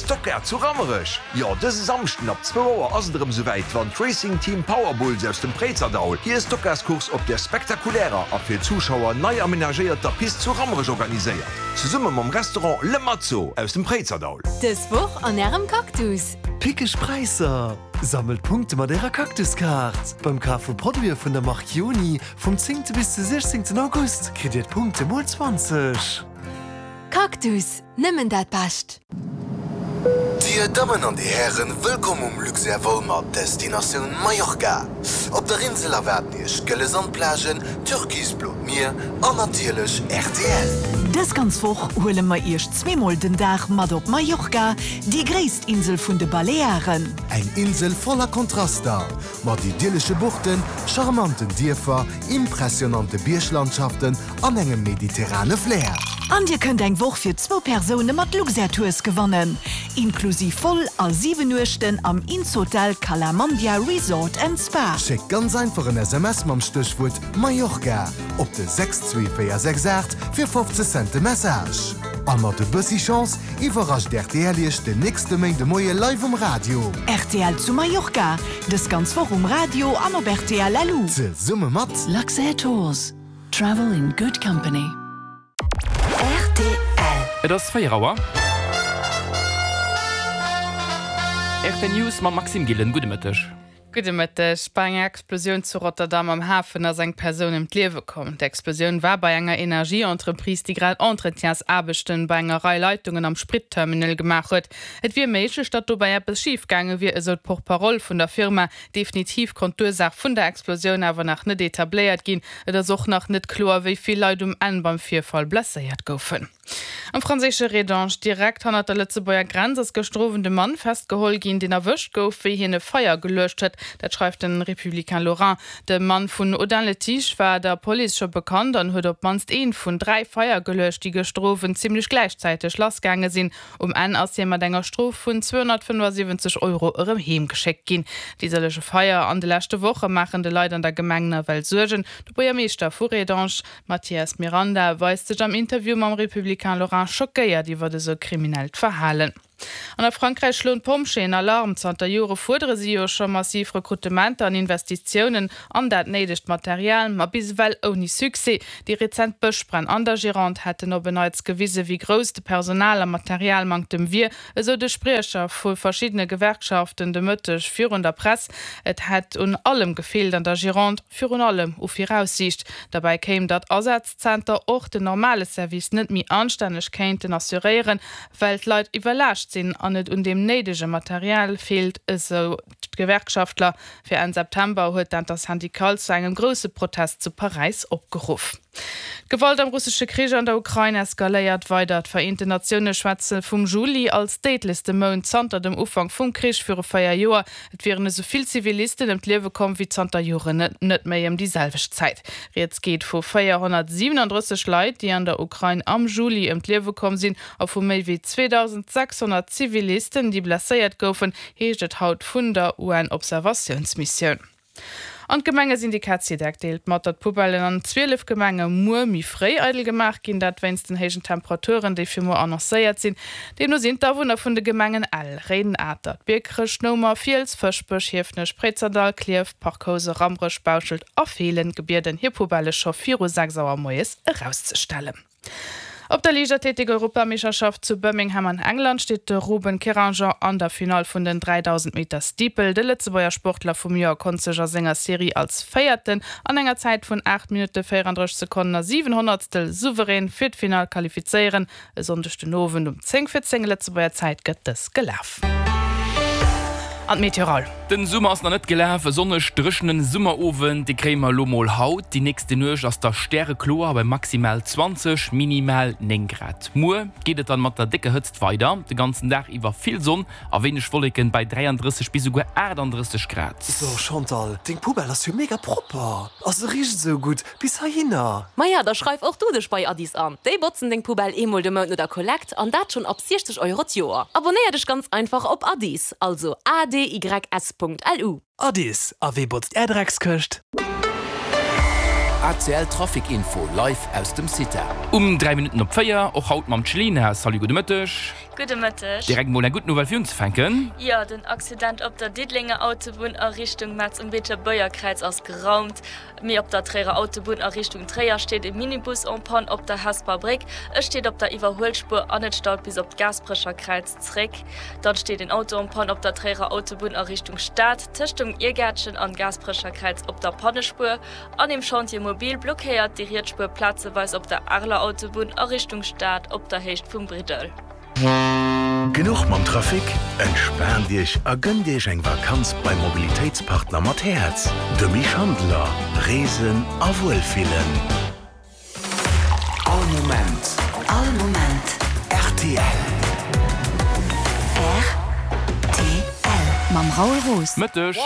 Stockcar zu Rammerech! Jo, dëse Samschden ab zwou Auer ass et erëm souwäit, wann d'Racing Team Power Bulls aus dem Préizerdaul hir Stockcarscourse op der spektakulärer a fir d'Zuschauer nei amenagéierter Pist zu Rammerech organiséiert, zesumme mam Restaurant Le Mazzo aus dem Préizerdaul. Dës Woch an Ärem Cactus! Pickeg Präisser! Sammelt Punkte mat Ärer Cactus-Kaart! Beim Kaf vu Produite vun der Mark Joni vum 10. Bis de 16. August kritt Dir d'Punkte mol 20. Cactus, nëmmen dat Bescht! Dir Dammen an Dir Hären, wëllkomm um Luxair Vol mat Destinatioun Mallorca. Op der Insel erwaarden Iech gëlle Sandplagen, türkisblot Mier an natierlech rtl. Dës ganz Woch huele mer Iech zweemol den Dag mat op Mallorca, déi gréisst Insel vun de Balearen. Eng Insel voller Kontraster, mat idyllesche Buchten, charmanten Dierfer, impressionante Bierglandschaften an engem mediterrane Flair. An dir kënnt eng Woch fir zwou Persoune mat Luxair Tours gewannen, inklusiv Vol a 7 Nuechten am Innshotel Cala Mandia Resort and Spa. Schéckt ganz einfach en SMS mam Stéchwuert Mallorca op de 62468 fir 50 Cent de Message. A mat e bëssi Chance iwwerrascht rtl Iech den nächste Méindemoie live um Radio. Rtl zu Mallorca, dës ganz Woch um Radio an op rtl LU. Zesumme mat. Luxair Tours. Travel in good company. Rtl. Et ass 4 Auer. Rtl News mam Maxime Gillen. Gudde Mëtteg. Gudde Mëtteg. Bei enger Explosioun zu Rotterdam am Hafen ass eng Persoun ëm d'Liewe komm. D'Explosioun war bei enger Energieentreprise, déi grad Entretiensaarbechten bei enger Rei Leitungen am Spritterminal gemaach huet. Et wier méiglech, datt dobäi eppes schif gaange wier, esou d'Porte-parole vun der Firma. Definitiv konnt d'Ursaach vun der Explosioun awer nach net etabléiert ginn. Et ass och nach net kloer, wéi vill Leit um Enn beim Virfall blesséiert goufen. Am franséische Rédange, direkt hannert der Lëtzebuerger Grenz, ass gëschter Owend e Mann festgeholl ginn, deen erwëscht gouf, wéi hien e Feier geluecht huet. Dat schreift de Républicain Lorrain. De Mann vun Audun-le-Tiche war der Police scho bekannt an huet op d'mannst eent vun 3 Feier geluecht, déi gëschter Owend zimmlech gläichzäiteg lassgaange sinn. Um Enn ass hie mat enger Strof vun 275 Euro erëm heem geschéckt ginn. Déi sëllege Feier an de leschte Woche maachen de Leit an der Gemeng nawell Suergen. De Buergermeeschter vu Rédange, Mathias Miranda, weist sech am Interview mam Républicain Lorrain schockéiert iwwert esou kriminellt Verhalen. An a Frankräich schloen d'Pompjeeën Alarm. Zanter Jore fuerdere si jo scho massiv Rekrutementer an Investitiounen an dat néidegt Material, ma bis ewell ouni Succès. Déi rezent Bëschbränn an der Gironde hätten op en Neits gewise wéi grouss de Personal a Materialmanktem wier, esou de Spriecher vu verschiddene Gewerkschaften de Mëtteg virun der Press. Et hätt un allem gefeelt an der Gironde, virun allem u Viraussiicht. Derbäi kéim, datt Asazzenter och den normale Service net méi anstänneg kéinten assuréieren, well d'Leit iwwerlaascht sinn an et un deem néidege Material feelt, esou d'Gewerkschaftler. Fir Enn September huet d'Intersyndicale zu engem grousse Protest zu Paräis opgeruff. D'Gewalt am russesche Krich an der Ukrain eskaléiert weider. D'Vereenten Natioune schwätze vum Juli als déidlechste Mount zanter dem Ufank vum Krich viru 4 Joer. Et wieren esou vill Zivilisten ëm d'Liewe komm wéi zanter Joren net méi ëm déi selwecht Zäit. Rieds geet vu 437 Leit, déi an der Ukrain am Juli ëm d'Liewe komm sinn a vu méi wéi 2.600 Zivilisten, déi blesséiert goufen, heescht et haut vun der UN-Observatiounsmissioun. An d'Gemengesyndikat Sidec deelt mat, datt d'Poubellen an 12 Gemenge muer méi fréi eidel gemaach ginn. Dat wéinst den héijen Temperaturen, déi fir muer annoncéiert sinn. Deemno sinn d'Awunner vun de Gemengen Ell, Réiden, Atert, Biekerech, Noumer, Fiels, Fëschbech, Hiefenech, Préizerdahl, Klierf, Parc Housen, Rammerech, Bauschelt a Feelen gebieden, hir Poubelle scho viru 6 Auer moies erauszestellen. Op der Liichtathletik-Europameeschterschaft zu Birmingham an England steet de Ruben Keranger an der Finall vun den 3000 Meter Steeple. De Lëtzebuerger Sportler vum Joer konnt sech a senger Serie als Véierten an enger Zäit vun 8 Minutte 34 Sekonnen a 7 Honnertstel souverän fir d'Finall qualifizéieren. E Sonndeg den Owend um 10 vir 10 Lëtzebuerger Zäit gëtt dës gelaf. An d'Meteoral. Den Summer ass nach net gelaf. E sonneg dréchenen Summerowend, dee kréie mer elo mol haut. Déi nächste Nuecht ass da stärekloer bei maximal 20, minimal 9 Grad. Muer geet et dann mat der décker Hëtzt weider, de ganzen Dag iwwer vill Sonn a wéineg Wolleken bei 33 bis esouguer 38 Grad. So Chantal, deng Poubelle ass jo mega propper a se richt esou gutt bis heihinner. Maja, da schreif och du dech bei Addis an. Déi botzen deng Poubelle eemol de Mount no der Kollekt an dat schonn ab 60 Euro d'Joer. Abonnéier dech ganz einfach op Addis, also adys.lu. Addis, a wee botzt är Dreckskëscht? ACL Trafic Info live aus dem CITA. Um 3 Minutten op 4, och haut mam Chelina. Salut, gudde Mëtteg. Gudde Mëtteg. Direkt mol eng gutt Nouvelle fir unzefänken. Jo, den Accident op der Diddelenger Autobunn a Richtung Metz um Beetebuergerkräiz ass geraumt. Mee op der Tréierer Autobunn a Richtung Tréier steet e Minibus en panne op der Hesper Bréck. E steet op der Iwwerhuelspuer an et staut bis op d'Gaasperecher Kräiz zréck. Dann steet en Auto en panne op der Tréierer Autobunn a Richtung Stad, tëscht dem Iergäertchen an Gaasperecher Kräiz op der Pannespuer. An dem Chantier mobile blockéiert déi riets Spuer plazeweis op der Areler Autobunn a Richtung Stad op der Héicht vum Briddel. Genuch mam Trafic? Entspaant Iech a gënnt Iech eng Vakanz beim Mobilitéitspartner mat Häerz, dem Schandeler. Reesen a wuelfillen. All Moment. All Moment. Rtl. Rtl. Mam Raoul Roos. Mëtteg.